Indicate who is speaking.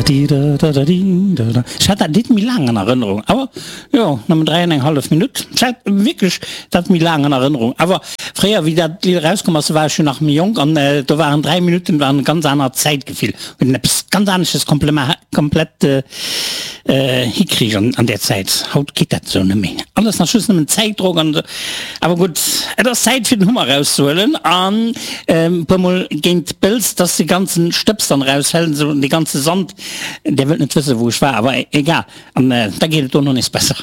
Speaker 1: Ech hat dat Lidd méi laang an Erënnerung, awer jo, nëmmen 3 an eng hallef Minutt. Ech hat wierklech dat méi laang an Erënnerung, awer fréier wéi dat Lidd erauskomm ass, do war ech jo nach méi jonk an do waren 3 Minutten waren e ganz anert Zäitgefill, hunn eppes ganz anesches komplett hikriich an där Zäit. Haut geet dat esou net méi, alles nach just nëmmen Zäitdrock an esou. Awer gutt, et ass Zäit fir den Hummer erauszehuelen an e puer mol géint d'Bëls, dass de ganzen Stëbs dann erausfällt, esou dee ganze Sand. Där wëllt net wëssen wou ech war, awer egal, an da geet et dono nees besser.